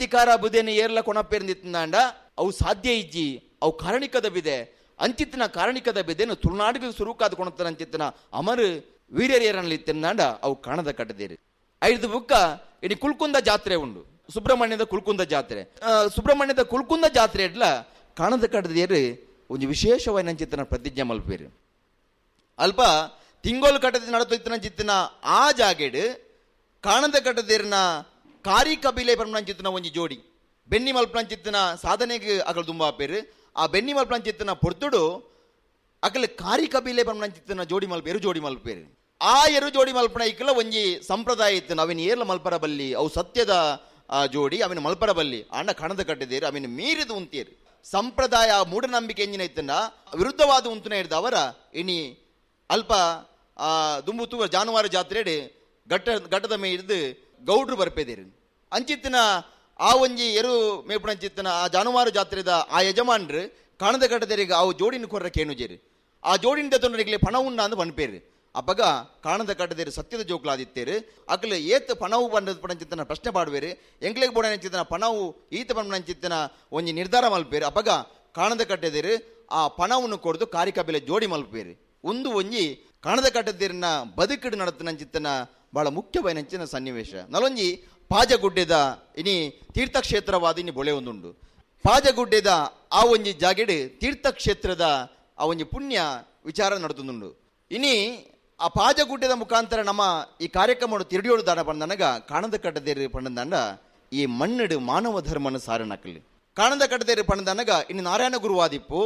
ಅಧಿಕಾರ ಬುದೇನ ಏರ್ಲ ಕೊಣಪೇರ್ಂದಿತ್ತಿನಾಂಡ ಅವು ಸಾಧ್ಯ ಇಜ್ಜಿ, ಅವು ಕಾರಣಿಕದ ಬಿದೆ. ಅಂಚಿತ್ತಿನ ಕಾರಣಿಕದ ಬಿದೆನು ತುಳುನಾಡಿಗೆ ಸುರುಕಾದ ಕೊಣತನ ಅಂಚಿತ್ತಿನ ಅಮರ್ ವೀರ್ಯರೇರನಲ್ಲಿ ಅವು ಕಾಣದ ಕಟ್ಟದೇರು. ಐದು ಬುಕ್ಕ ಇಡೀ ಕುಲ್ಕುಂದ ಜಾತ್ರೆ ಉಂಡು, ಸುಬ್ರಹ್ಮಣ್ಯದ ಕುಲ್ಕುಂದ ಜಾತ್ರೆ. ಸುಬ್ರಹ್ಮಣ್ಯದ ಕುಲ್ಕುಂದ ಜಾತ್ರೆ ಇಡ್ಲ ಕಾಣದ ಕಟ್ಟದೇರು ಒಂದು ವಿಶೇಷವಾದ ಅಂಚಿತ್ತಿನ ಪ್ರತಿಜ್ಞೆ ಮಲ್ಪೇರು. ಅಲ್ಪ ತಿಂಗೋಲು ಕಟ್ಟದ ನಡತೊಯ್ತನ ಚಿತ್ತಿನ ಆ ಜಾಗೆಡ್ ಕಾಣದ ಕಟ್ಟದೇರಿನ ಕಾರಿ ಕಬಿಲೆ ಪಂಚಿತ್ತಿನ ಒಂಜಿ ಜೋಡಿ ಬೆನ್ನಿ ಮಲ್ಪಂಚಿತ್ತಿನ ಸಾಧನೆಗೆ ಅಕಲ್ ದುಂಬಾಪೇರು. ಆ ಬೆನ್ನಿ ಮಲ್ಪಂಚಿತ್ತಿನ ಪೊರ್ತುಡು ಅಕಲ್ ಕಾರಿ ಕಬಿಲೆ ಪಂಚಿತ್ತಿನ ಜೋಡಿ ಮಲ್ಪ ಎರು ಜೋಡಿ ಮಲ್ಪೇರು. ಆ ಎರು ಜೋಡಿ ಮಲ್ಪನ ಇಕ್ಕಲ ಒಂಜಿ ಸಂಪ್ರದಾಯ ಇತ್ತು, ಅವಿನ ಏರ್ಲ ಮಲ್ಪರ ಬಲ್ಲಿ, ಅವು ಸತ್ಯದ ಜೋಡಿ ಅವಿನ ಮಲ್ಪರ ಬಲ್ಲಿ. ಅಣ್ಣ ಕಾಣದ ಕಟ್ಟಿದೇರು ಅವಿನ ಮೀರಿದು ಉಂತೇರು. ಸಂಪ್ರದಾಯ ಮೂಢನಂಬಿಕೆ ಎಂಜಿನ ಇತ್ತನ್ನ ವಿರುದ್ಧವಾದ ಉಂತುನ ಹಿಡಿದ ಅವರ ಇನಿ ಅಲ್ಪ ದುಂಬು ಜಾನುವಾರು ಜಾತ್ರೆಡೆ ಘಟ್ಟದ ಮೇಯ್ದು ಗೌಡ್ರು ಬರ್ಪೇದೇರು. ಅಂಚಿತ್ತಿನ ಆ ಒಂಜಿ ಎರು ಮೇಪುಣಂಚಿತ್ತಿನ ಆ ಜಾನುವಾರು ಜಾತ್ರೆದ ಆ ಯಜಮಾನ್ರು ಕಾಣದ ಕಟ್ಟದೇರಿಗೆ ಅವು ಜೋಡಿನ ಕೊರ್ರ ಕೇಣುಜೇರು. ಆ ಜೋಡಿನ ತೊಂದರೆಗೆ ಪಣ ಉಂಡ ಅಂದು ಪನ್ಪೇರು. ಅಪ್ಪಗ ಕಾಣದ ಕಟ್ಟದೇರು ಸತ್ಯದ ಜೋಕ್ಲಾದಿತ್ತೇರು. ಅಕಲು ಏತ್ ಪಣವು ಬಂದದ ಪಣಂಚಿತ್ತನ ಪ್ರಶ್ನೆ ಪಾಡುವೇರು, ಎಂಗ್ಲಿಗೆ ಬೋಡಂಚಿತ್ತನ ಪಣವು ಈತ ಪಣಂಚಿತ್ತನ ಒಂಜಿ ನಿರ್ಧಾರ ಮಲ್ಪೇರು. ಅಪ್ಪಗ ಕಾಣದ ಕಟ್ಟದೇರು ಆ ಪಣವನ್ನು ಕೊಡ್ದು ಕಾರಿಕಬಿಲೆ ಜೋಡಿ ಮಲ್ಪೇರು. ಒಂದು ಒಂಜಿ ಕಾಣದ ಕಟ್ಟದೇರಿನ ಬದುಕಿಡು ನಡತನಂಚಿತ್ತನ ಬಹಳ ಮುಖ್ಯವಾದ ಸನ್ನಿವೇಶ. ನಲೊಂಜಿ ಪಾಜಗುಡ್ಡೆದ ಇನಿ ತೀರ್ಥಕ್ಷೇತ್ರವಾದ ಇನಿ ಬೊಳೆ ಒಂದುಂಡು. ಪಾಜಗುಡ್ಡೆದ ಆ ಒಂಜಿ ಜಾಗೆಡು ತೀರ್ಥಕ್ಷೇತ್ರದ ಆ ಒಂಜಿ ಪುಣ್ಯ ವಿಚಾರ ನಡತುಂದುಂಡು. ಇನಿ ಆ ಪಾಜಗುಡ್ಡೆದ ಮುಖಾಂತರ ನಮ್ಮ ಈ ಕಾರ್ಯಕ್ರಮ ತಿರುಡಿಯೋಡು ದಾನ ಪಂಡನಗ ಕಾಣದ ಕಟ್ಟದೇರು ಪಂಡಂದಾಂಡ ಈ ಮಣ್ಣಡು ಮಾನವ ಧರ್ಮನ ಸಾರನಕಲಿ. ಕಾಣದ ಕಟ್ಟದೇರು ಪಂಡನಗ ಇನ್ನು ನಾರಾಯಣ ಗುರುವಾದಿಪ್ಪು,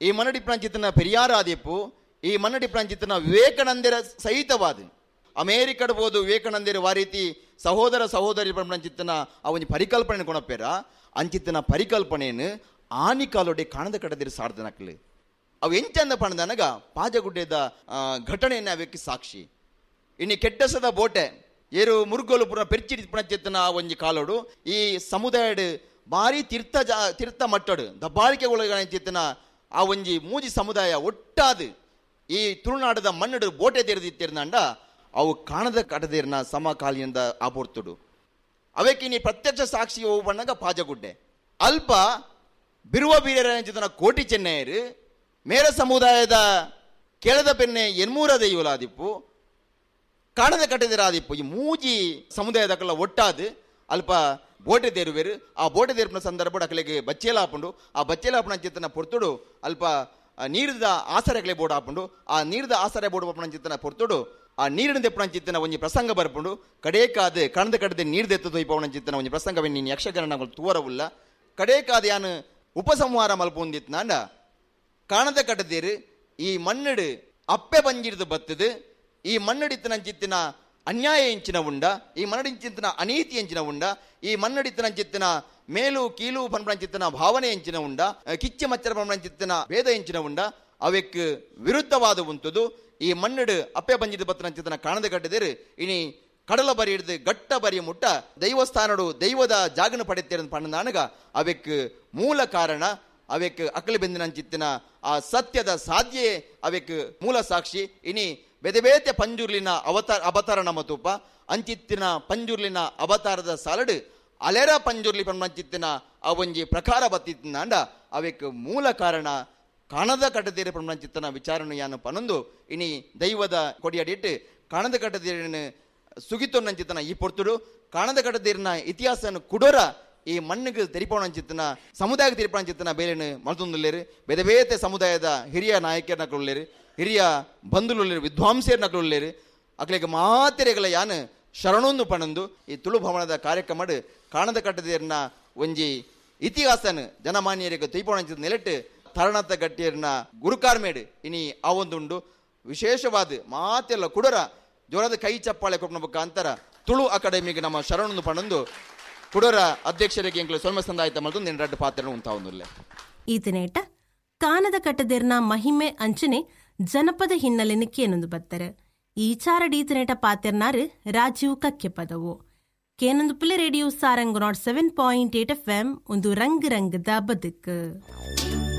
ಈ ಮನ್ನಡಿ ಪ್ರಾಂಚಿತನ ಪೆರಿಯಾರ ಆದಿಪ್ಪು, ಈ ಮನ್ನಡಿ ಪ್ರಾಂಚಿತನ ವಿವೇಕಾನಂದರ ಸಹಿತವಾದ ಅಮೇರಿಕಡ್ ಬೋದು ವಿವೇಕಾನಂದರ ವಾರೀತಿ ಸಹೋದರ ಸಹೋದರಿ ಪಂಚಿತ್ತನ ಆ ಒಂಜಿ ಪರಿಕಲ್ಪನೆ ಕೊಣಪೇರ. ಅಂಚಿತ್ತನ ಪರಿಕಲ್ಪನೆಯನ್ನು ಆನಿಕಾಲೊಡೆ ಕಾಣದ ಕಟ್ಟದಿರು ಸಾರ್ಧನಕಲಿ. ಅವು ಎಂಚಂದ ಪಣದನಗ ಪಾಜಗುಡ್ಡೆದ ಘಟನೆಯನ್ನು ಅವಕ್ಕೆ ಸಾಕ್ಷಿ. ಇನ್ನು ಕೆಟ್ಟಸದ ಬೋಟೆ ಏರು ಮುರುಗೋಲು ಪುರ ಪೆರ್ಚಿಡಿ ಪಣಚಿತ್ತನ ಆ ಒಂಜಿ ಕಾಲೋಡು ಈ ಸಮುದಾಯಡ್ ಭಾರಿ ತೀರ್ಥ ತೀರ್ಥ ಮಟ್ಟಡು ದಬ್ಬಾಳಿಕೆ ಒಳಗಂಚಿತ್ತನ ಆ ಒಂಜಿ ಮೂಜಿ ಸಮುದಾಯ ಒಟ್ಟಾದು ಈ ತುಳುನಾಡದ ಮಣ್ಣಡು ಬೋಟೆ ತೆರೆದಿತ್ತಿರ್ನಂಡ ಅವು ಕಾಣದ ಕಟದೇರ್ನ ಸಮಕಾಲೀನದ ಆಪೋರ್ತುಡು. ಅವಕ್ಕೆ ನೀ ಪ್ರತ್ಯಕ್ಷ ಸಾಕ್ಷಿ ಬಣ್ಣಗ ಪಾಜಗುಡ್ಡೆ ಅಲ್ಪ ಬಿರುವ ಬೀರರ ಕೋಟಿ ಚೆನ್ನೈರು ಮೇರ ಸಮುದಾಯದ ಕೆಳದ ಪೆನ್ನೆ ಎನ್ಮೂರ ದೈವಲಾದಿಪ್ಪು ಕಾಣದ ಕಟ್ಟದಿರಾದಿಪ್ಪು ಈ ಮೂಜಿ ಸಮುದಾಯದಕ್ಕೆಲ್ಲ ಒಟ್ಟಾದು ಅಲ್ಪ ಬೋಟೆ ತೇರುವೇರು. ಆ ಬೋಟೆ ತೇರ್ಪಿನ ಸಂದರ್ಭ ಅಕಲೆಗೆ ಬಚ್ಚೇಲ ಹಾಪುಂಡು. ಆ ಬಚ್ಚೇಲ ಹಾಪುಣ ಚಿತ್ತನ ಪೊರ್ತುಡು ಅಲ್ಪ ನೀರಿದ ಆಸರೆಗಳೇ ಬೋರ್ಡ್ ಹಾಪುಂಡು. ಆ ನೀರಿದ ಆಸರೆ ಬೋರ್ಡ್ ಹಾಪುಣ ಚಿತ್ತನ ಪೊರ್ತುಡು ಆ ನೀರಿನ ದೆಪ್ಪಣ ಚಿತ್ತನ ಒಂಜಿ ಪ್ರಸಂಗ ಬರ್ಪುಂಡು. ಕಡೇಕಾದ ಕಣದ ಕಡದೆ ನೀರು ದೆತ್ತ ತೊಯ್ಪವಣ ಚಿತ್ತನ ಒಂಜಿ ಪ್ರಸಂಗವೇ ನೀನು ಯಕ್ಷಗಾನ ತೂವರವುಲ್ಲ. ಕಡೇಕಾದ ಯಾನು ಉಪಸಂಹಾರ ಮಲ್ಪೊಂದಿತ್ನಾಂಡ ಕಾಣದ ಕಟ್ಟದೇರು ಈ ಮಣ್ಣಡು ಅಪ್ಪೆ ಬಂಜಿಡ್ದು ಬತ್ತದು. ಈ ಮಣ್ಣಡಿತ್ತನ ಚಿತ್ತಿನ ಅನ್ಯಾಯ ಎಂಚಿನ ಉಂಡ, ಈ ಮನ್ನಡಿಂಚಿತ್ತನ ಅನೀತಿ ಎಂಚಿನ ಉಂಡ, ಈ ಮನ್ನಡಿತ್ತನ ಚಿತ್ತಿನ ಮೇಲು ಕೀಲು ಪನ್ಪಂಚಿತ್ತನ ಭಾವನೆ ಎಂಚಿನ ಉಂಡ, ಕಿಚ್ಚ ಮಚ್ಚರ ಪನ್ಪಂಚಿತ್ತನ ಭೇದ ಎಂಚಿನ ಉಂಡ, ಅವೆಕ್ ವಿರುದ್ಧವಾದ ಉಂಟುದು. ಈ ಮಣ್ಣಡು ಅಪ್ಪೆ ಬಂಜಿದ ಬತ್ತನ ಚಿತ್ತನ ಕಾಣದ ಕಟ್ಟದೇರು ಇನಿ ಕಡಲ ಬರಿ ಹಿಡಿದು ಗಟ್ಟ ಬರಿ ಮುಟ್ಟ ದೈವಸ್ಥಾನಡು ದೈವದ ಜಾಗನ ಪಡೆತೇರ ಪಣ್ಣದಾನಗ ಅವೆಕ್ ಮೂಲ ಕಾರಣ ಅವೆಕ್ ಅಕಲಿ ಬೆಂದಿನ ಚಿತ್ತಿನ ಆ ಸತ್ಯದ ಸಾಧ್ಯೆ ಅವೆಕ್ ಮೂಲ ಸಾಕ್ಷಿ. ಇನಿ ಬೇತೆ ಪಂಜುರ್ಲಿನ ಅವತಾರ ಅವತಾರ ನಮ್ಮ ತೂಪ ಅಂಚಿತ್ತಿನ ಪಂಜುರ್ಲಿನ ಅವತಾರದ ಸಾಲಡು ಅಲೆರ ಪಂಜುರ್ಲಿ ಪಂಚಿತ್ತಿನ ಆ ಒಂಜಿ ಪ್ರಕಾರ ಬತ್ತಿತ್ತಿನಾಂಡ ಅವೆಕ್ ಮೂಲ ಕಾರಣ ಕಾಣದ ಕಟ್ಟದೇರೆ ಪಂಚಿತ್ತನ ವಿಚಾರಣೆ ಯಾನು ಪನೊಂದು ಇನಿ ದೈವದ ಕೊಡಿಯಡಿಟ್ಟು ಕಾಣದ ಕಟ್ಟದೇರಿನ ಸುಗಿತೊನ್ನಂಚಿತ್ತನ ಈ ಪೊರ್ತುಡು ಕಾಣದ ಕಟ್ಟದೇರಿನ ಇತಿಹಾಸನ ಕುಡೋರ ಈ ಮಣ್ಣಿಗೆ ತೆರಿಪೋಣಂಚಿತ್ತನ ಸಮುದಾಯಕ್ಕೆ ತೆರಿಪೋಣಂಚಿತ್ತನ ಬೇರೆನು ಮಲ್ತೊಂದುಲ್ಲೇರು. ಬೇರೆ ಬೇತೆ ಸಮುದಾಯದ ಹಿರಿಯ ನಾಯಕರನಕ್ಳುಳ್ಳೇರು, ಹಿರಿಯ ಬಂಧುಲುಳ್ಳೇರು, ವಿದ್ವಾಂಸರನಕ್ಳುಳ್ಳೇರು. ಅಕ್ಲೆಗೆ ಮಾತೆರೆಗಳ ಯಾನು ಶರಣೊಂದು ಪಣಂದು ಈ ತುಳು ಭವನದ ಕಾರ್ಯಕ್ರಮಡು ಕಾಣದ ಕಟ್ಟದೇರಿನ ಒಂಜಿ ಇತಿಹಾಸನ ಜನಮಾನ್ಯರಿಗೆ ತೊಯ್ಪೋಣಂಚಿತ್ತ ನೆಲೆಟ್ಟು ತರಣತ ಗಟ್ಟಿಯರ್ನ ಗುರುಕಾರ್ಮೇಡು ಇನಿ ಆ ಒಂದುಂಡು ವಿಶೇಷವಾದ ಮಾತೆಲ್ಲ ಕುಡರ ಜೋರಾದ ಕೈ ಚಪ್ಪಾಳೆ ಕೊಪ್ಪನ ಮುಖಾಂತರ ತುಳು ಅಕಾಡೆಮಿಗೆ ನಮ್ಮ ಶರಣೊಂದು ಪಣಂದು ಕುಡರ ಅಧ್ಯಕ್ಷರಿಗೆ ಎಂಕ್ಲು ಸೊಲ್ಮ ಸಂದಾಯಿತ ಮಲ್ತು ನಿನ್ನ ರಡ್ಡು ಪಾತ್ರ ಉಂಟಾವೊಂದುಲ್ಲೆ. ಈತನೇಟ ಕಾನದ ಕಟ್ಟದೇರ್ನ ಮಹಿಮೆ ಅಂಚನೆ ಜನಪದ ಹಿನ್ನೆಲೆನ ಕೇನೊಂದು ಬತ್ತಾರೆ. ಈ ಚಾರಡೀತನೇಟ ಪಾತೆರ್ನಾರು ರಾಜೀವ್ ಕಕ್ಕೆ ಪದವು ಕೇನೊಂದು ಪುಲೆ ರೇಡಿಯೋ ಸಾರಂಗ್ 107.8 FM ಒಂದು ರಂಗ್ ರಂಗದ ಬದುಕು.